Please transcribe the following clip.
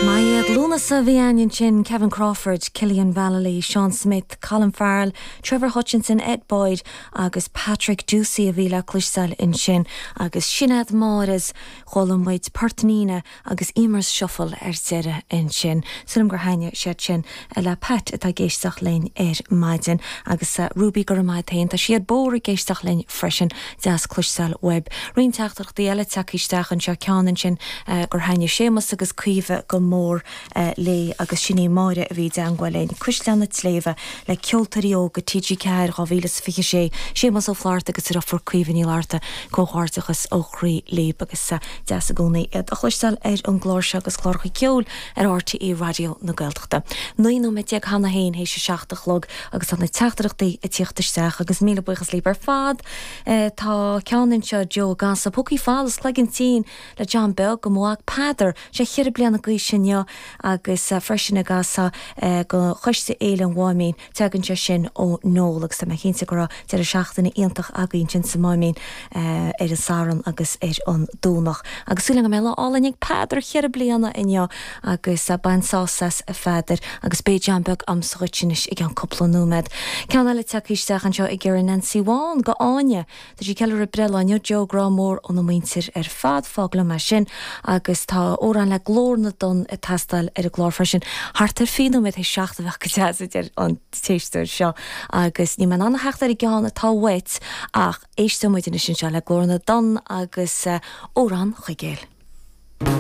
Is maith iad. Lúnasa a bhí againn ansin, Kevin Crawford, Cillian Vallely, Seán Smith, Colin Farrell, Trevor Hutchinson, Ed Boyd agus Patrick Ducey a bhí le cloisteáil ansin. Agus Sinéad Máires, chuala muid Port Nina agus Eimear's Shuffle ar deireadh ansin. Sílim gur thaitnigh siad sin le Pat atá ag éisteacht linn ar maidin. Agus Ruby, go raibh maith a't fhéin. Tá sí ar bóthar ag éisteacht linn freisin. Deas cloisteáil uaibh. Roinnt teachtaireachtaí eile tagtha isteach anseo, ceann ansin gur thaitnigh Séamus agus Caoimhe go mór léi agus sin í Máire a bhí i dteangmháil linn. Cuisleán na tSléibhe le Ceoltóirí Óga TG4 2026, Séamus Ó Flatharta agus a dhriofúr Caoimhe Ní Fhlatharta, comhghairdeachas ó chroí libh agus deas i gcónaí iad a chloisteáil ar an gclár seo agus cláracha ceoil ar RTÉ Raidió na Gaeltachta. 19 nóiméad cheana féin théis a 7 a chlog agus tá na teachtaireachtaí ag tíocht isteach agus míle buíochas libh ar fad. Tá ceann anseo, Joe ag casadh Púcaí Falls, Cloigeann Tinn le John Beag do mo mhac Peadar, sé cheithre bliana d'aois inniu agus freisin ag casadh do Choiste Fhéile an Mháimín. Tagann sé sin ó Noel agus tá mé cinnte go raibh deireadh seachtaine iontach againn ansin sa Máimín ar an Satharn agus ar an Domhnach. Agus súil agam go mbeidh lá álainn ag Peadar cheithre bliana inniu agus bain sásamh as a Pheadair agus beidh John Beag a'msa dhuit anois i gceann cúpla nóiméad. Ceann eile tagtha isteach anseo ag iarraidh Nancy Bhán go Áine. Tá sí ag ceiliúradh breithlá inniu, Joe, grá mór óna muintir ar fad, fág liom é sin. Agus tá amhrán le Glór na dTonn ag teastáil ar an gclár freisin. Thart ar 20 nóiméad théis 7 a bheadh go deas, a deir an t-éisteoir seo. Agus níl mé in ann a theacht ar an gceann atá uait ach éisteoidh muid anois anseo le Glór na dTonn agus Amhrán Chuigéil.